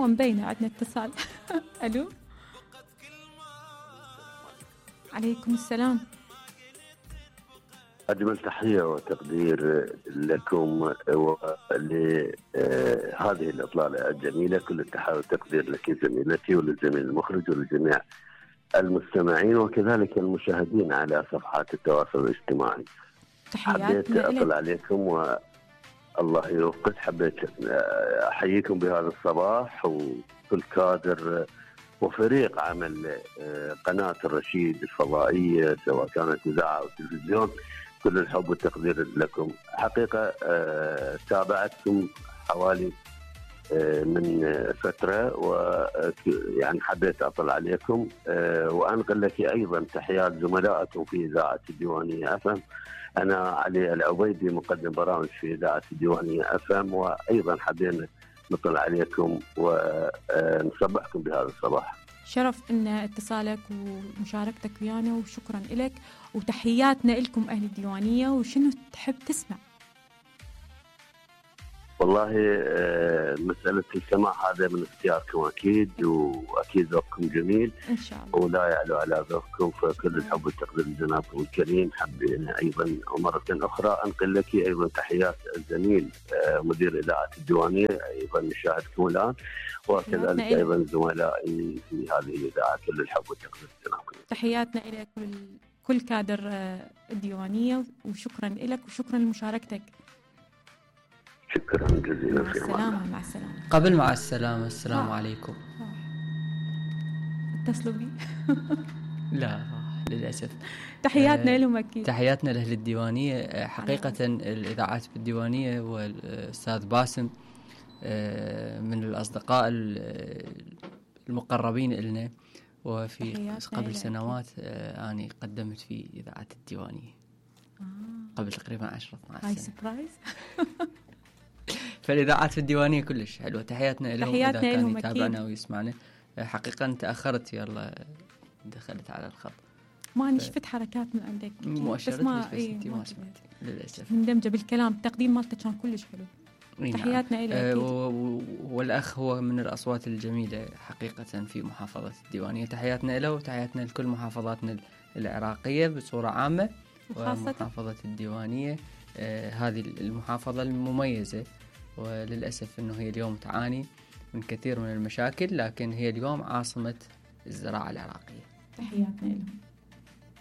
مبينة عندنا اتصال. ألو، عليكم السلام. أجمل تحية وتقدير لكم ولهذه الإطلالة الجميلة. كل التحية والتقدير لك زميلتي وللزميل المخرج ولجميع المستمعين وكذلك المشاهدين على صفحات التواصل الاجتماعي. حبيت أطلع عليكم والله يوفقك. حبيت أحييكم بهذا الصباح وكل كادر وفريق عمل قناة الرشيد الفضائية سواء كانت إذاعة أو تلفزيون. كل الحب والتقدير لكم. حقيقة تابعتكم حوالي من فترة ويعني حبيت أطلع عليكم وأنقل لك أيضا تحيات زملائكم في إذاعة الديوانية أفهم. أنا علي العبيدي مقدم برامج في إذاعة الديوانية أفهم، وأيضا حبينا نطلع عليكم ونصبحكم بهذا الصباح. شرف ان اتصالك ومشاركتك ويانا وشكرا لك وتحياتنا لكم أهل الديوانية. وشنو تحب تسمع؟ والله مسألة السماع هذا من اختياركم أكيد، وأكيد ذوقكم جميل إن شاء الله ولا يعلو على ذوقكم، فكل الحب والتقدير لجنابكم الكريم. حبينا أيضا مرة أخرى أنقل لك أيضا تحيات الزميل مدير إذاعة الديوانية أيضا نشاهدكم الآن، وكذلك أيضا زملائي في هذه الإذاعة. كل الحب والتقدير لجنابكم. تحياتنا إلى كل كادر الديوانية وشكرا لك وشكرا لمشاركتك. شكرا جزيلا. مع السلامة. مع السلامة. قبل مع السلامة السلام عليكم. اتصلوا بي. لا للأسف. تحياتنا لهم أكيد. تحياتنا لأهل الديوانية. حقيقة الإذاعات بالديوانية والأستاذ باسم من الأصدقاء المقربين إلنا، وفي قبل سنوات أنا قدمت في إذاعة الديوانية قبل تقريبا 10-12 سنة. سبرايز. فالإذاعات في الديوانية كلش حلوة. تحياتنا لهم إذا كان يتابعنا ويسمعنا. حقيقة تأخرت يلا دخلت على الخط، ما شفت حركات من عندك مؤشرات ما سمعت للأسف. مندمجة بالكلام. التقديم مالته كان كلش حلو. تحياتنا إليه. والأخ هو من الأصوات الجميلة حقيقة في محافظة الديوانية. تحياتنا له وتحياتنا لكل محافظاتنا العراقية بصورة عامة، ومحافظة الديوانية هذه المحافظة المميزة. وللأسف أنه هي اليوم تعاني من كثير من المشاكل، لكن هي اليوم عاصمة الزراعة العراقية. تحياتنا لهم.